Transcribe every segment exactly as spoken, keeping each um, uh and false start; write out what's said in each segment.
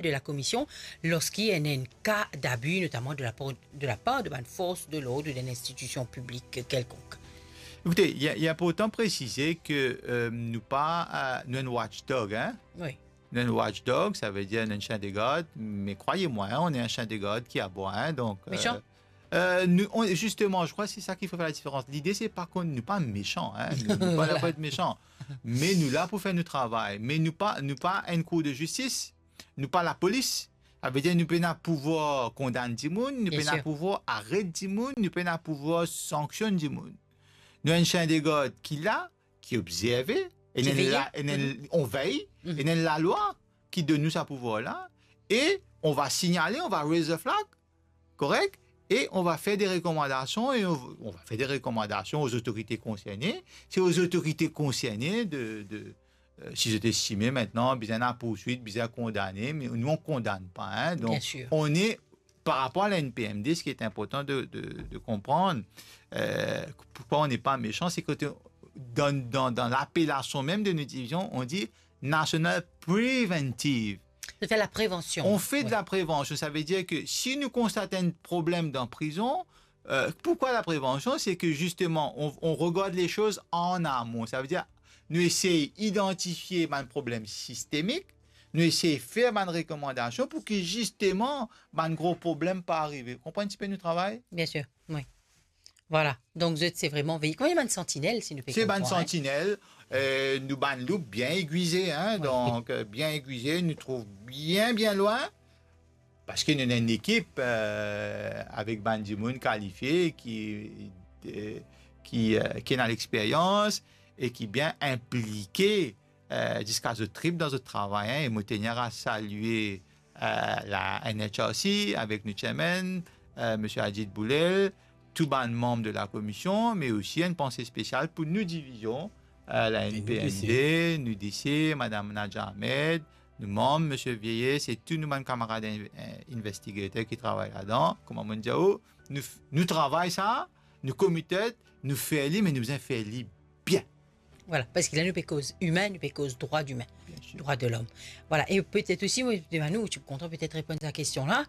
de la komision, lorski ena enn ka dabi, notaman de la par, de la par de bann fors de lord ou d'enn institision piblik kelkonk. Ekoute, li, li inportan presize ke, euh, nou pa, euh, nou enn watchdog, hein? Wi. Nou enn watchdog, savedir nou enn sien de gard, me krwaye mwa, hein, nou enn sien de gard ki aboy, hein, donk, euh, Mesan? Euh, nou, on, zisteman, je crois se sa ki fer la diferans. Lide, se pa kont nou pa mesan, hein. Nou, nou pa la pou et mesan. Me nou la pou fer nou travay. Me nou pa, nou pa enn kour de zistis, nou pa lapolis. Savedir nou pena pouvwar kondann dimoun, nou pena pouvwar aret dimoun, nou pena pouvwar sanksionn dimoun. Nou enn sien de gard ki la, ki obzerve, e nou enn la, e nou enn, on vey, e nou enn lalwa ki donn nou sa pouvwar la, e on va signale, on va raise a flag, korek? E on va fer de rekomandasion, e on, on va fer de rekomandasion aux autorités concernées. Se aux autorités concernées de, de, euh, si zot estime aster bizin enn pourswit, bizin kondane, me nou, on kondann pa, hein. Donk, on est, par rapport à la N P M D, ce qui est important de, de, de comprendre, euh, pourquoi on n'est pas méchant, c'est que te, dans, dans, dans l'appellation même de notre division, on dit National Preventive. Zot fer la prevansion. On fait de la prévention. Ça veut dire que si nou konstat enn problem dan prizon, euh, pourquoi la prévention? C'est que justement, on, on regarde les choses en amont. Ça veut dire, nou esey idantifie bann problem sistemik, nou esey fer bann rekomandasion pou ki zisteman bann gro problem pa arive. Konpran enn tipe nou travay? Bien sûr, oui. Voilà. Donk, zot, se vreman vey-, kouma bann santinel, si nou pe konpran, hein? Se bann santinel, euh, nou bann loup bien egwize, hein, donk, euh, bien egwize, nou trouv bien, bien lwin, parski nou ena enn ekip, euh, avek bann dimoun kalifie ki, euh, ki, euh, ki ena lexperyans e ki bien inplike euh, ziska zot trip dan zot travay, hein, e mo tenir a salie, euh, la N H R C avek nou chairman, euh, Msye Ajit Boulel, tou bann manm de la komision, me osi enn panse spesial pou nou divizion, euh, la N P M D, nou D C, Madam Nadja Ahmed, nou manm, Msye Vieillesse, e tou nou bann kamarad in-, in-, investigater ki travay ladan. Kouma mo dir ou, nou f-, nou travay sa, nou committed, nou fer li, me nou bizin fer li bien. Voilà, parski la nou pe koz imin, nou pe koz drwa imin, bien sûr, drwa de lom. Voilà, e petet osi, mo demann ou, ou ti pou kontan petet reponn sa kestion la.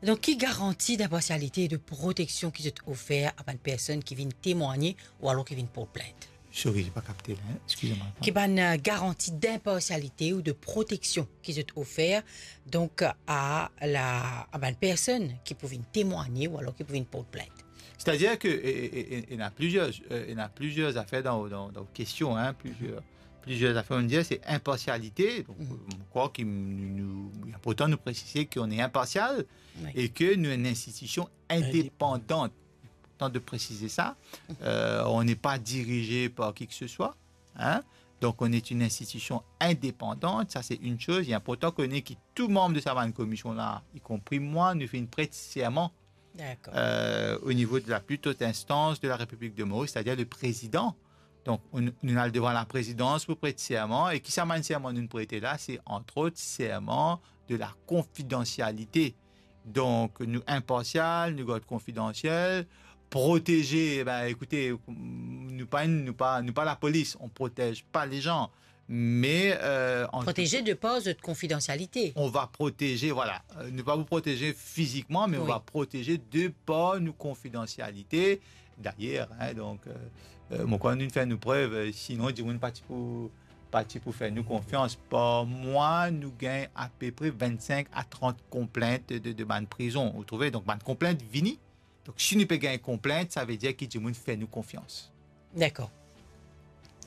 Donk, ki garanti dinparsialite e de proteksion ki zot ofer a bann personn ki vinn temwagne ou alor ki vinn port plint? Sorry, j'ai pas capté là, hein. Excusez-moi. Ki bann, euh, garanti dinparsialite ou de proteksion ki zot ofer, donk, a la, a bann personn ki pou vinn temwagne ou alor ki pou vinn port plint? C'est-à-dire que, e, e, e, e, ena plizier, euh, ena plizier zafer dan, dan, dan kestion, hein, plizier, plizier zafer, on dir, se inparsialite. Donk, mo krwar ki nou, nou, li inportan nou presize qu'on est impartial, wi, e ke nou enn institision indépendante. Inportan de presize sa. Euh, on n'est pas dirigé par qui que ce soit, hein. Donc, on est une institution indépendante, ça c'est une chose. Il est important que nou, ki tou manm de sa bann komision la, y compris moi, nou finn pret serman, dakor, euh, au niveau de la plus haute instance de la République de Maurice, c'est-à-dire le président. Donk, nou, nou al devan laprezidans pou pret serman, e ki sa bann serman nou prete la, se, entre autres, serman de la confidentialité. Donk, nou inparsial, nou gard konfidansiel, proteze, e ben, ekoute, nou pa, nou pa, nou pa lapolis, on protège pas les gens. Me, euh, en tout cas, proteze de par zot konfidansialite. On va protéger, voilà. Euh, nou pa pou proteze fizikman, me on, wi, va protéger de par nou konfidansialite. Dayer, hein, donk, euh, euh, mo krwar nou fer nou prev, euh, sinon, dimoun pa ti pou, pa ti pou fer nou konfians. Par mwa, nou gagn apepre vinn-sink a trant konplint de, de bann prizon, ou trouve? Donk, bann konplint vini. Donk, si nou pe gagn konplint, savedir ki dimoun fer nou konfians. Dakor.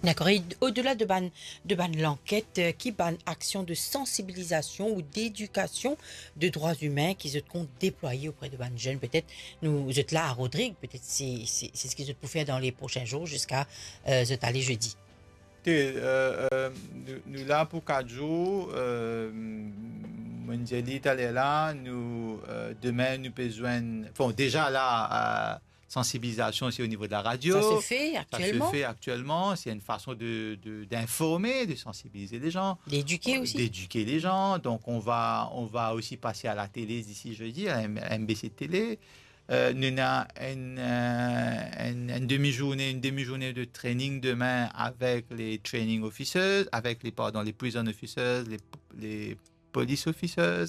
Dakor. E odela de bann, de bann lanket, euh, ki bann aksion de sansibilizasion ou dedikasion de drwa imin ki zot kontan deplwaye opre de bann zenn? Petet nou, zot la a Rodrig, petet se, se, se seki zot pou fer dan le prosin zour ziska, euh, zot ale zedi. Te, euh, euh, nou, nou la pou kat zour, euh, mo dir li taler la, nou, euh, demin nou pe zwenn, bon, deza la, euh, sansibilizasion, se o nivo de la radio. Ça se fait actuellement. Ça se fait actuellement. C'est une façon de, de, d'informer, de sensibiliser les gens. D'éduquer aussi. D'éduquer les gens. Donc, on va, on va aussi passer à la télé d'ici jeudi, à M-, M B C Télé. Euh, nou ena enn, euh, enn, enn demi-journée, une demi-journée de training demain avec les training officers, avec les, pardon, les prison officers, les, les police officers,